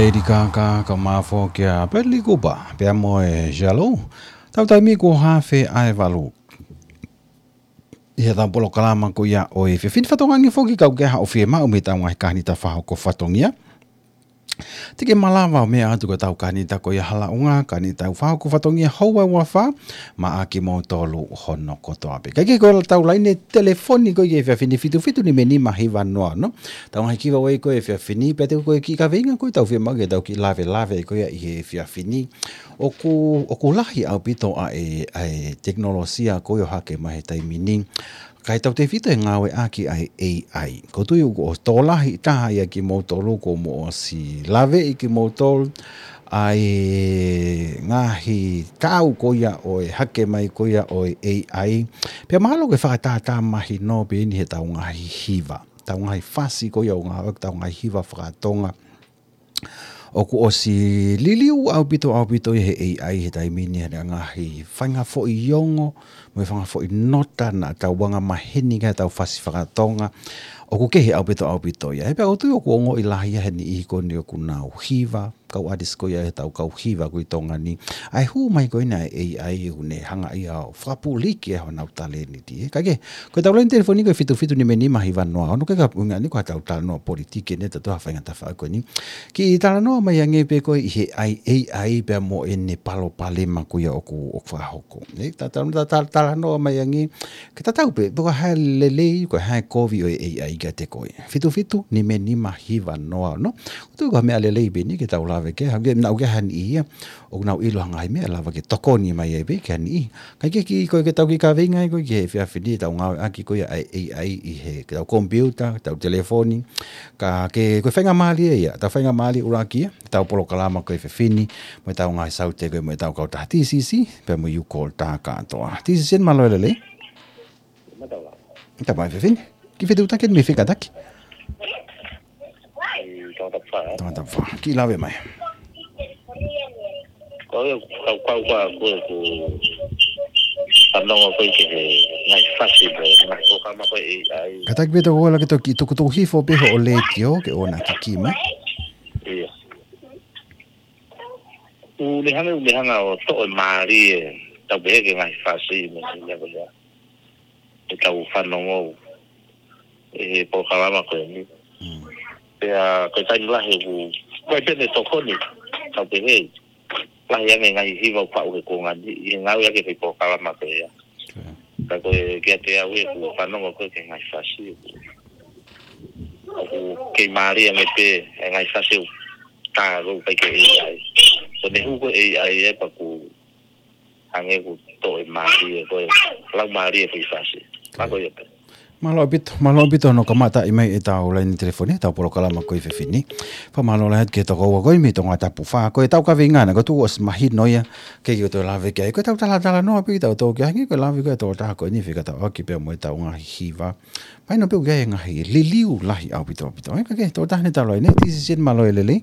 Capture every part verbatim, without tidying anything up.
Lady Gaga, ka mafo kia Bradley Cooper, pea mo e Jalo. Tau taimi ko hafe ai valu. ʻI heʻetau polokalama ko ia ʻo e efiafi ni, fatongia foki ka ʻoku ʻi ai haʻo fiemaʻu mei heʻetau ngaahi kāinga fakahoko fatongia. Te ke malava ʻo meʻa atu ki heʻetau kāinga ko ia Halaʻunga, kāinga fakahoko fatongia houa ua fā, maʻa kimoutolu hono kotoa pē. Kae kehe ko ʻetau laine telefoni ko ia he efiafi ni fitu fitu nima nima hiva noa ono. Tau ngaahi giveaway ko ia he efiafi ni, pea te u ko e kiʻi kaveinga ko ia ʻoku tau fiemaʻu ke tau kiʻi lavelave ko ia ʻi he efiafi ni. ʻOku, ʻoku lahi ʻaupito ʻa e, ʻa e tekinolosia ko ia ʻoku hake mai he taimi ni. Kae tautefito he ngāueʻaki ʻa e A I. ʻOku ou tui ʻoku tokolahi taha ia kimoutolu kuo mou ʻosi laveʻi kimoutolu ʻa e ngaahi tau ko ia ʻo e hake mai ko ia ʻo e A I. Pea mahalo ko e fakatātā mahino pē eni heʻetau ngaahi hiva. ʻEtau ngaahi fasi ko ia ʻoku ngāueʻaki ʻetau ngaahi hiva fakatonga. ʻOku ʻosi liliu ʻaupito, ʻaupito ia he A I he taimi ni ʻa e ngaahi faʻahinga foʻi ongo, mo e faʻahinga foʻi nota naʻa tau anga maheni ki ai ʻetau fasi fakatonga. ʻOku kehe ʻaupito, ʻaupito ia. He pea ʻoku ou tui ʻoku ongoʻi lahi ia he niʻihi ko eni ʻoku nau hiva, kau artist ko ia ʻetau kau hiva ko ē ʻi Tonga ni. ʻA e hū mai ko ena ʻa e A I ʻoku ne hanga ia ʻo fakapuliki ʻa honau talēniti, ē. Kae kehe, ko ʻetau laine telefoni ko e fitu fitu nima nima hiva noa ono, ke ka ʻuhinga ni ko ʻetau talanoa politiki eni, ʻetau faʻahinga tafaʻaki ko eni. Kiʻi talanoa mai ange pē ko ē ʻi he A I, A I pea mo ʻene palopalema ko ia ʻoku, ʻoku fakahoko. Ē, ta, ta, ta, ta, talanoa mai ange, ke tatau pē, pe ko e hā e lelei, ko e hā e kovi ʻo e A I kiate koe. Fitu fitu nima nima hiva noa ono. ʻOku ou tui ko ha meʻa lelei pē eni ke tau lave ki ai, hangē naʻa ʻoku ʻi ai ha niʻihi ia ʻoku nau ʻilo ha ngaahi meʻa lava ke tokoni mai ai pē ki ha niʻihi. Kae kehe ko e ke tau kiʻi kaveinga ai ko ē ki he efiafi ni ʻetau ngāueʻaki ko ia ʻa e A I ʻi heʻetau komipiuta, ʻetau telefoni. Ka ke, ko e faingamālie ia, ʻetau faingamālie ʻuluaki ia, ʻetau polokalama ko e efiafi ni, mo ʻetau ngaahi saute ko ē mo ʻetau kautaha T C C, pea mo e U Call tā kātoa. T C C, mālō e lelei. Mālō. Tau mai efiafi ni. Kiʻi fetuʻutaki mei fē kātaki? ʻI Tongatapu fā. Tongatapu fā. Kiʻi lave mai. Ko e kau kau kua ko e ku fanongo ko ē ki he ngaahi fasi mo e ngaahi polokalama ko ē A I. Kātaki pē tau ō ʻo lava ke toki tukutuku hifo pē hoʻo letiō ke ʻoua naʻa kikī mai. ʻIo. ʻOku ne hanga, ʻoku ne hanga ʻo toʻo e mālie, tau pehē ki he ngaahi fasi mo e ngaahi meʻa ko ia ʻetau fanongo ʻi he polokalama ko eni. Mm. Pea ko e taimi lahi ʻoku, ko e pehē ne tokoni, tau pehē, lahi ange ngaahi hiva ʻoku faʻu he kuonga ni, ʻi he ngāueʻaki e polokalama ko ia. Okay. Ka ko e kiate au ʻeku fanongo ko ē ki he ngaahi fasi ʻoku, ʻoku kei mālie ange pē e ngaahi fasi ʻoku tā ʻoku ʻikai ke A I. Ko ʻene hū ko ē A I ē pea ʻoku hangē ʻoku toʻo e mālie, ko e lau mālie ko ē ʻi he fasi. Mālō ia pē. Mālō ʻaupito, mālō ʻaupito hono kamataʻi mai ʻetau laine telefoni, ʻetau polokalama ko e efiafi ni. Fakamālō lahi atu ki he tokoua ko ē mei Tongatapu fā, ko ʻetau kaveinga na, ʻoku ou tui ʻosi mahino ia, ke ke toe lave ki ai. Ko ʻetau talatalanoa pē ʻi heʻetau tō ki ai, hangē ko e lave ko ē ʻa e tokotaha ko eni fekauʻaki pea mo ʻetau ngaahi hiva. Mahino pē ʻoku ʻi ai e ngaahi liliu lahi ʻaupito, ʻaupito. Ē, kae kehe, tokotaha ʻi heʻetau laine, T C C, mālō e lelei.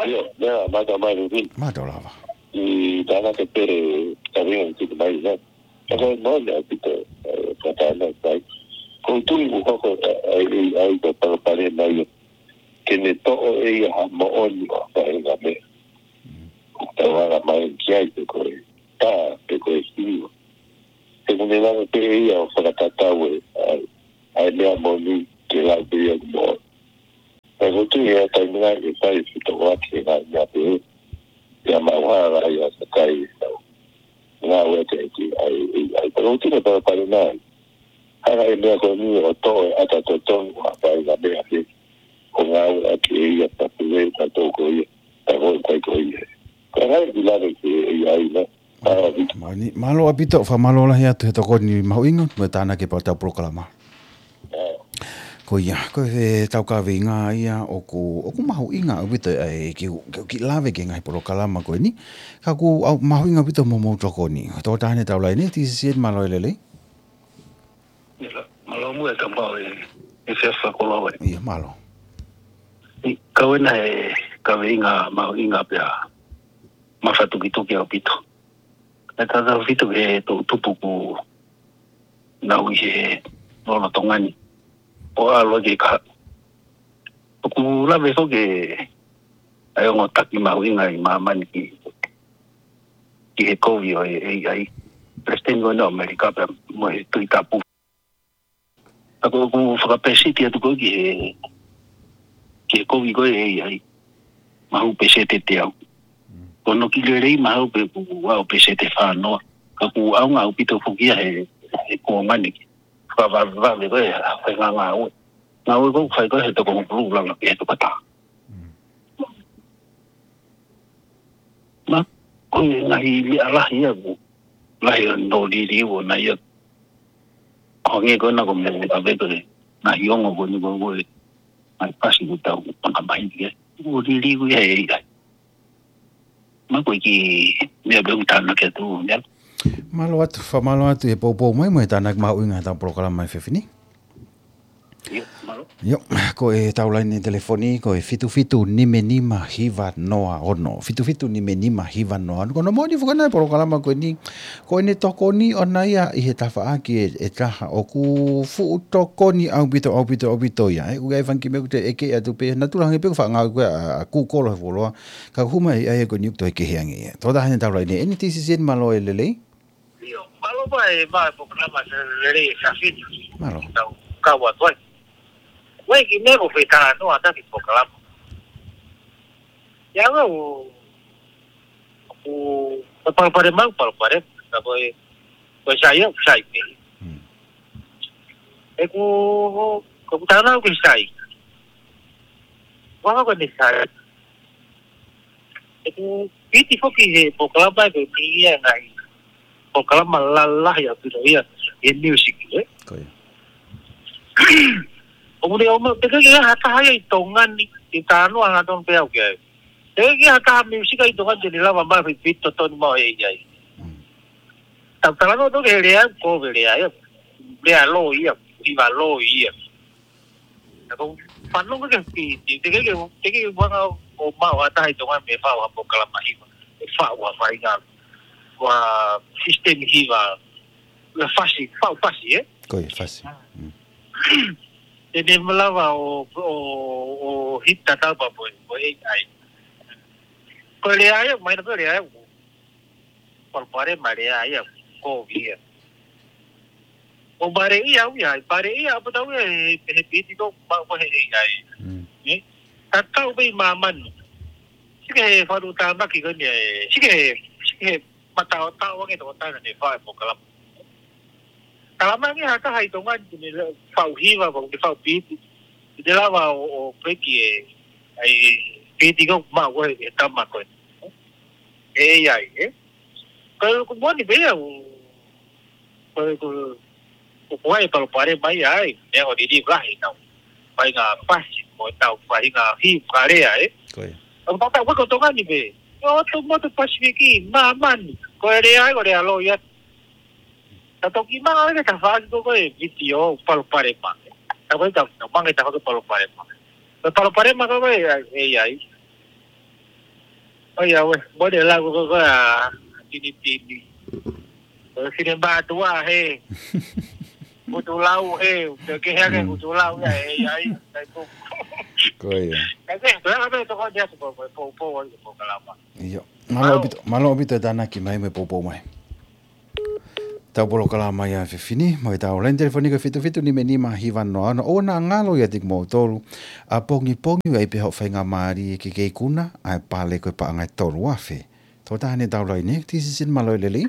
ʻIo, meʻa, mātā mai Rufin. Mātā lava. ʻI tānaki pē kaveinga ʻoku tuku mai, nē. Ka ko e moʻoni ʻaupito, ē, ka tānaki mai. ʻOku ou tui ʻoku hoko, ē, ʻa e A I ko e palopalema ia. Ke ne toʻo ʻe ia ha moʻoni ʻo ha faʻahinga meʻa. Mm. ʻOku tau anga mai ki ai pe ko e tā, pe ko e hiva. He ʻoku ne lava pē ʻe ia ʻo fakatatau e, ʻa e, ʻa e meʻa moʻoni ke lau pē ia ʻoku moʻoni. Pea ʻoku ou tui ʻe ʻi ai e taimi lahi ʻe fai e fetokoniʻaki e ngaahi meʻa pehē. Pea maʻu hā lā ia ʻa e kai e tau ngāueʻaki ʻa e, ʻa e, ʻa e, pea ʻoku ou tui ʻe palopalema ia. Hanga ʻe he meʻa ko eni ʻo toʻo e ʻata totonu ʻo ha faʻahinga meʻa pē. ʻO ngāueʻaki ʻe ia pea pule ka tō ko ia, pea ko e kai ko ia. Ko e hā e kiʻi lave ki he A I, nē. Mālō ʻaupito. Mālō, mālō ʻaupito, fakamālō lahi atu he tokoni mahuʻinga, mo e tānaki pē ʻetau polokalama. Ko ia, ko ʻetau kaveinga ia ʻoku, ʻoku mahuʻinga ʻaupito ʻa e kiʻi, kiʻi lave ki he ngaahi polokalama ko eni. Ka ʻoku mahuʻinga ʻaupito hoʻomou tokoni. Tokotaha ʻi heʻetau laine, T C C, mālō e lelei. Mālō muʻa e tau pau e, e fia fakoloa e. ʻIo, mālō. ʻI, kau ena e kaveinga mahuʻinga pea mafatukituki ʻaupito. Naʻe tautautefito ki he toʻu tupu ʻoku nau ʻi he lolotonga ni. ʻO ʻalu ki he kahaʻu. ʻOku lave foki ʻa e ongo taki mahuʻinga ʻi māmani ki, ki he kovi ʻo e A I. Palesiteni ko ena ʻo ʻAmelika pea mo e Tuʻi Tapu. Ka ko ʻeku fakapeseti atu ko ē ki he, ki he kovi ko ē A I. Mahu peseti ʻe teau. Ko hono kiʻi lelei mahu pē ʻoku aʻu peseti ʻe fā noa. Ka ʻoku ʻaonga ʻaupito foki ia he, he kuonga ni. Fakavavevave ko ē, fai ngā ngāue. Ngāue ko ē ʻoku fai ko ē he toko hongofulu lava pē he toko taha. Ma, ko e ngaahi meʻa lahi ia ʻoku, lahi ʻo e liliu ʻona ia. Ko e ngaahi ko ena ko e meʻa ʻoku ʻave ko ē, ngaahi ongo ko eni ko ē, ngaahi pasi ʻoku tau ʻanga mai ki ai. ʻOku liliu ia ʻe A I. Ma ko e kiʻi meʻa pē ʻoku tānaki atu, meʻa. Mālō atu, fakamālō atu he poupou mai mo e tānaki mahuʻinga ʻetau polokalama he efiafi ni. ʻIo, mālō. ʻIo, ko ʻetau laine telefoni, ko e fitu fitu nima nima hiva noa ono. Fitu fitu nima nima hiva noa ono. Ko hono moʻoni foki ʻona e polokalama ko eni, ko ʻene tokoni ʻona ia ʻi he tafaʻaki ʻe, ʻe taha ʻoku fuʻu tokoni ʻaupito, ʻaupito, ʻaupito ia. ʻE, ʻoku ʻi ai e fanga kiʻi meʻa ʻoku te ʻeke atu pē, naʻa tau hangē pē ko e fakaʻaongaʻi ko ē ʻa, ʻa Google he fuoloa, ka ʻoku hū mai ʻa e ko eni ʻoku toe kehe ange ia. Tō taha ʻi heʻetau laine, N T C C N mālō e lelei. ʻIo, mālō pē ʻa e polokalama lelei ʻa e efiafi ni. Mālō. Tau kau atu ai. Ko e kiʻi meʻa ʻoku fetala noa ʻaki e polokalama. ʻIa, ʻoku, ʻoku, ʻoku palopalema, palopalema. Ka ko e, ko e sai ia, sai pē. Hmm. ʻOku, ʻoku tala ʻoku sai. Ua ko eni sai. ʻOku piti foki he polokalama ko eni ia ngaahi polokalama lalahi ʻaupito ia he music, ē? Ko ia. ʻOku ne ʻomai, teʻeki ke ʻi ai ha taha ia ʻi Tonga ni, ʻi Tanoa hangatonu pē au ki ai. Teʻeki ke ʻi ai ha taha music ʻi Tonga ni te ne lava mai piti totonu maʻu ʻe A I. Mm. Tau talanoa toki he lea, ko e lea ia. Lea loi ia, hiva loi ia. Ka ko e fanongo ke fi, te ke, te ke, te ke vanga ʻo maʻu ha taha ʻi Tonga mei he faʻu ha polokalama hiva, ʻe faʻu ha faʻahinga, ha system hiva, ʻa e fasi, faʻu fasi, ē? Ko e fasi. Mm. Te ne malava ʻo, ʻo, ʻo hit tatau pē mo e, mo e A I. Ko e lea ia, mai na ko e lea ia, palopalema lea ia, ko ia. ʻO pale ia au ia, pale ia, ʻapō tau ia, he, he piti ko, ma, ko he A I. Mm. Ē? Tatau pē ʻi māmani. Sike he falu tāmaki ko eni, ē, sike he, sike he mataotao ange toko tana ne fai polokalama. Talamai ange ha taha ʻi Tonga ni te ne faʻu hiva, pe te ne faʻu piti. Te ne lava ʻo, ʻo peki e, ʻa e piti ko maʻu ko e tama ko ē. ʻE A I, ē? Ko e, ko e moʻoni pē ia, ʻo, ko e, ko e, ko e, ko e palopalema ia ai, meʻa ʻoku liliu lahi ʻetau faʻahinga pasi, mo ʻetau faʻahinga hiva lea, ē? Ko ia. ʻOku tau, tau, ko Tonga ni pē. ʻO ʻotu motu Pasifiki, māmani. Ko e lea ai, ko e lea loi ia. Ta toki manga ʻi he tafaʻaki ko ē ko e vitiō palopalema. Ta ko e ta, ta manga ʻi he tafaʻaki palopalema. Ko e palopalema ko ē ko e A I. ʻOiauē, mole lau ko ē ko e ʻa Tinitini. Ko e fine mātuʻa he. Kutu lau he, ke he ake Mm. kutu lau ia he A I. Kai ko. Ko ia. Kai ke, ko e ʻa e meʻa toko atu ko e, ko e, ko e, ko e, ko e, ko e kalama. ʻIo. Mālō Mālō. ʻaupito, mālō ʻaupito e tānaki mai mo e poupou mai. Tau polokalama ia he efiafi ni, mo ʻetau laine telefoni ko e fitu fitu nima nima hiva noa ono. ʻOua naʻa ngalo ia kiate kimoutolu. ʻApongipongi ʻoku ʻi ai pē haʻo faingamālie ke ke ikuna, ʻa e pale ko e paʻanga ʻe tolu afe. Tō taha ʻi heʻetau laine, N T C C N mālō e lelei.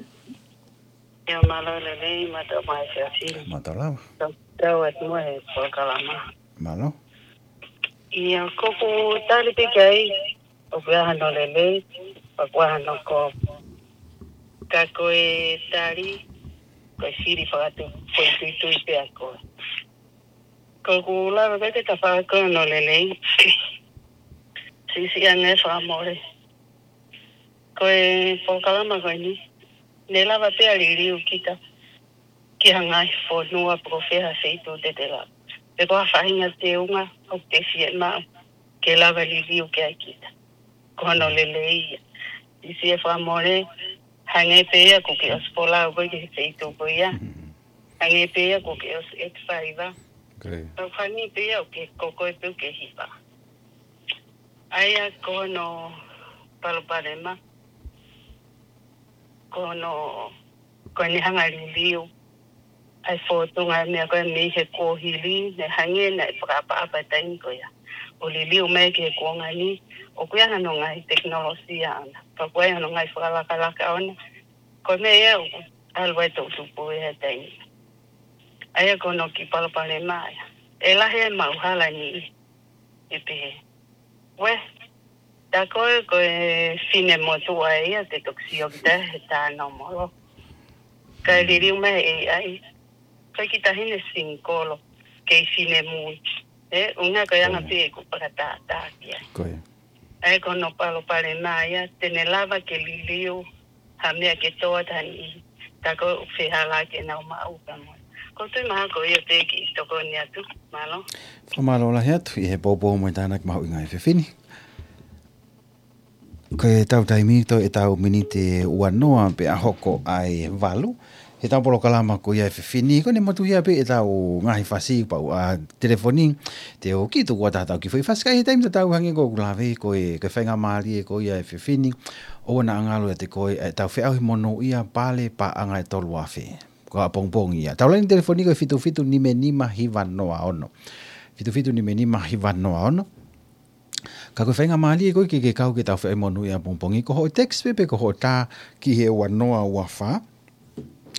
ʻIo mālō e lelei, mālō mai efiafi ni. Mālō lava. Tau, tau atu mo e polokalama. Mālō. ʻIo, ko ʻeku tali pē ki ai, ʻoku ʻi ai hano lelei, ʻoku ʻi ai hano kovi. Ka ko e tali, ko e fili fakatu, ko e tuitui pē ʻa koe. Ko ʻeku lave ko ē ki he tafaʻaki ko ē hono lelei. Siʻisiʻi ange fakamole. Ko e polokalama ko eni, ne lava pē ʻo liliu kita ki ha ngaahi fonua pe ko fē ha feituʻu te te lava. Pe ko ha faʻahinga teunga ʻoku te fiemaʻu ke lava liliu ki ai kita. Ko hono lelei ia. Siʻisiʻi e fakamole, hangē pē ia ʻoku ke ʻosi folau koe ki he feituʻu ko ia. Mm. Hangē pē ia ʻoku ke ʻosi ʻeti faiva. Okay. Pea hangē pē ia ʻoku ke, ko koe pē ʻoku ke hiva. ʻA ia ko hono palopalema, ko hono, ko ʻene hanga liliu ʻa e fōtunga e meʻa ko ē mei he kuohili, ne hangē naʻe fakaʻapaʻapa e taimi ko ia ʻo liliu mai ki he kuonga ni, ʻoku ʻi ai hano ngaahi tekinolosia ʻona, pea ʻoku ʻi ai hano ngaahi fakalakalaka ʻona, ko e meʻa ia ʻoku ʻalu ai e toʻutupu he taimi. ʻA ia ko hono kiʻi palopalema ia, ʻe lahi e maʻu hala ni ʻi pehē. Uē, tā ko ē ko e fine motuʻa ia te toki sio kita he tā nōmolo. Kae liliu mai ʻe he A I, ko e kiʻi taʻahine singikolo, kei finemui. ʻE, ʻuhinga ko e anga pē ʻeku fakatātā ki ai. Ko ia. ʻA ia ko hono palopalema ia, te ne lava ke liliu ha meʻa ke tō atu ha niʻihi, tā ko ē ʻoku fehālaaki ʻenau maʻu pea mo. Ko e tui mahalo ko ia pē ke tokoni atu, mālō. Fakamālō lahi atu ʻi he poupou mo e tānaki mahuʻinga ʻa e efiafi ni. Ko ʻetau taimi toe ʻetau miniti ʻe uanoa pea hoko ʻa e valu heʻetau polokalama ko ia ʻa e efiafi ni, ko ʻene motuhia pē ʻetau ngaahi fasi pea ʻoua telefoni, te u kiʻi tuku atu haʻatau kiʻi foʻi fasi ka ʻi he taimi tatau hangē ko ʻeku lave ko e, ko e faingamālie ko ia ʻa e efiafi ni, ʻoua naʻa ngalo ʻiate koe ʻetau feʻauhi monūʻia Pale Paʻanga ʻe tolu afe. Ko e ʻapongipongi ia. Tau laine telefoni ko e fitu fitu nima nima hiva noa ono. Fitu fitu nima nima hiva noa ono. Ka ko e faingamālie ko ē ke ke kau ki heʻetau feʻauhi monūʻia ʻapongipongi, ko hoʻo text pē pe ko hoʻo tā ki he uanoa uafā.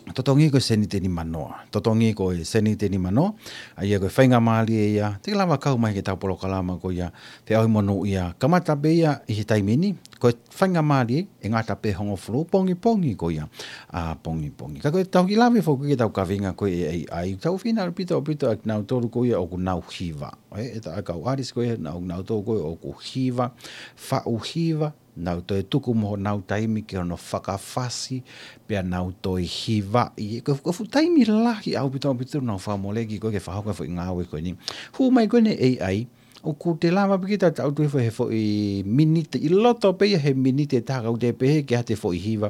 Totongi ko e sēniti ʻe nimanoa. Totongi ko e sēniti ʻe nimanoa. ʻA ia ko e faingamālie ia te ke lava kau mai ki heʻetau polokalama ko ia feʻauhi monūʻia. Kamata pē ia ʻi he taimi ni, ko e faingamālie ʻe ngata pē hongofulu pongipongi ko ia ʻapongipongi. Ka ko ʻetau kiʻi lave foki ki heʻetau kaveinga ko ē ʻa e A I, tau fina ʻaupito ʻaupito ʻa kinautolu ko ia ʻoku nau hiva. ʻE, ʻetau kau artist ko ia, nau, nautolu ko ē ʻoku hiva, faʻu hiva, nau toe tuku mo honau taimi ki hono fakafasi, pea nau toe hivaʻi. Ko e, ko e fuʻu taimi lahi ʻaupito ʻaupito nau fakamoleki ko ē ke fakahoko e foʻi ngāue ko eni. Hū mai ko eni ʻa e A I, ʻoku te lava pē kita tau tui foʻi he foʻi miniti, ʻi loto pē ia he miniti ʻe taha ka ʻoku te pehē ki ha te foʻi hiva.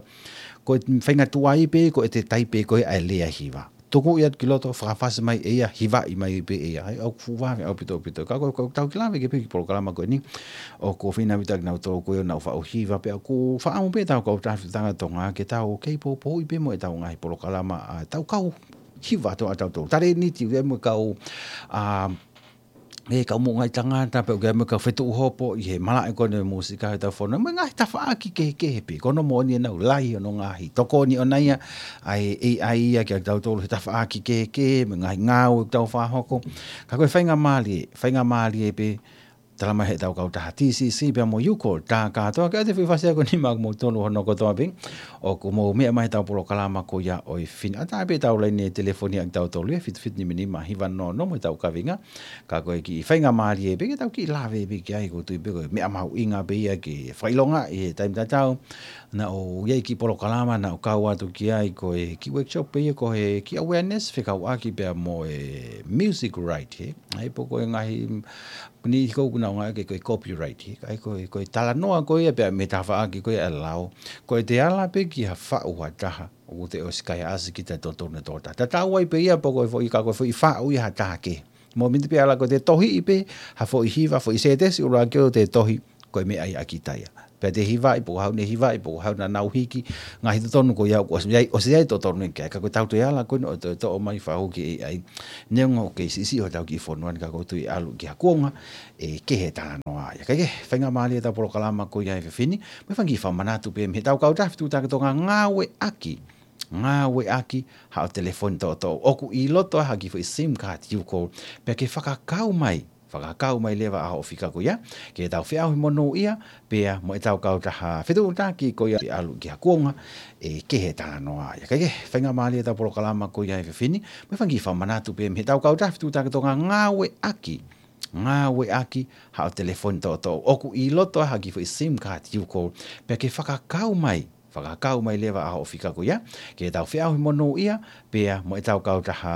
Ko e faingatuʻa ai pē ko ʻete taipe ko ē ʻa e lea hiva. Tuku ia ki loto, fakafasi mai ʻe ia, hivaʻi mai pē ʻe ia. ʻA ia ʻoku fuʻu vave ʻaupito ʻaupito. Ka ko, ko ʻetau kiʻi lave ki he pē ki he polokalama ko eni, ʻoku fina ʻaupito kinautolu ko ē ʻoku nau faʻu hiva pea ʻoku fakaʻamu pē ʻetau kautaha Fetutaki Tonga ke tau kei poupouʻi pē mo ʻetau ngaahi polokalama, ʻa, tau kau hiva ʻa tautolu. Talēniti, ʻa e mo e kau, ʻa, ʻe kau moʻungaʻi tangata, pea ʻoku ʻi ai mo e kau fetuʻu hopo ʻi he malaʻe ko eni ʻo e mūsika heʻetau fonua. Mo e ngaahi tafaʻaki kehekehe pē, ko hono moʻoni ʻenau lahi hono ngaahi tokoni ʻona ia ʻa e A I ia kia tautolu he tafaʻaki kehekehe, mo e ngaahi ngāue ʻoku tau fakahoko. Ka ko e faingamālie, faingamālie pē, tala mai heʻetau kautaha T C C pea mo e U Call, tā kātoa ke ʻoua te foʻi fasi ia ko eni maʻa kimoutolu hono kotoa pē. ʻOku mou meʻa mai heʻetau polokalama ko ia ʻo e efiafi ni. ʻAtā pē ʻetau laine telefoni ʻa kitautolu ia, fitu fitu nima nima hiva noa ono mo ʻetau kaveinga. Ka ko e kiʻi faingamālie pē ke tau kiʻi lave pē ki ai, ʻoku ou tui pē ko e meʻa mahuʻinga pē ia ke fakaʻilongaʻi he taimi tatau. Naʻa ku ʻi ai e kiʻi polokalama naʻa ku kau atu ki ai, ko e kiʻi workshop pē ia ko e kiʻi awareness fekauʻaki pea mo e music right, he. ʻA ia pe ko e ngaahi, ni ko ʻeku ngaahi ke ko e copyright, he. ʻA ia ko e, ko e talanoa ko ia pea mo e tafaʻaki ko ia ʻa e lao. Ko ʻete ala pē ki ha faʻu ha taha, ʻoku te ʻosi kaihaʻasi kita ʻi he totonu ʻo e tokotaha. Tatau ai pē ia pe ko e foʻi, ka ko e foʻi faʻu ia ha taha kehe. Mo e miniti pē ʻe ala ko ʻete tohiʻi pē ha foʻi hiva, foʻi sētesi ʻuluaki ʻo ʻete tohi, ko e meʻa ia ʻa kita ia. Pea te hivaʻi, pe ko hai ʻoku ne hivaʻi, pe ko hai ʻoku nau hiki, ngaahi totonu ko ia ʻoku ʻosi ʻi ai, ʻosi ʻi ai e totonu ia ki ai. Ka ko ʻetau toe ala ko eni ʻo toe toʻo mai fakahū ki he A I. Neongo ʻoku kei siʻisiʻi hotau kiʻi fonua ni ka ʻoku ou tui ʻe ʻalu ki ha kuonga ʻe kehe e talanoa ia. Ka ko e faingamālie ʻetau polokalama ko ia he efiafi ni, mo e fanga kiʻi fakamanatu pē mei heʻetau kautaha Fetutaki Tonga, ngāueʻaki, ngāueʻaki haʻo telefoni toʻotoʻo. ʻOku ʻi loto ai ha kiʻi foʻi SIM card U Call, pea ke fakakau mai, fakakau mai leva ʻa hoʻo fika ko ia ki heʻetau feʻauhi monūʻia pea mo ʻetau kautaha fetuʻutaki ko ia ʻe ʻalu ki ha kuonga ʻe kehe e talanoa ia. Ka ko e faingamālie ʻetau polokalama ko ia he efiafi ni, mo e fanga kiʻi fakamanatu pē mei heʻetau kautaha Fetutaki Tonga, ngāueʻaki, ngāueʻaki haʻo telefoni toʻotoʻo. ʻOku ʻi loto ai ha kiʻi foʻi SIM card U Call, pea ke fakakau mai, fakakau mai leva ʻa hoʻo fika ko ia ki heʻetau feʻauhi monūʻia pea mo ʻetau kautaha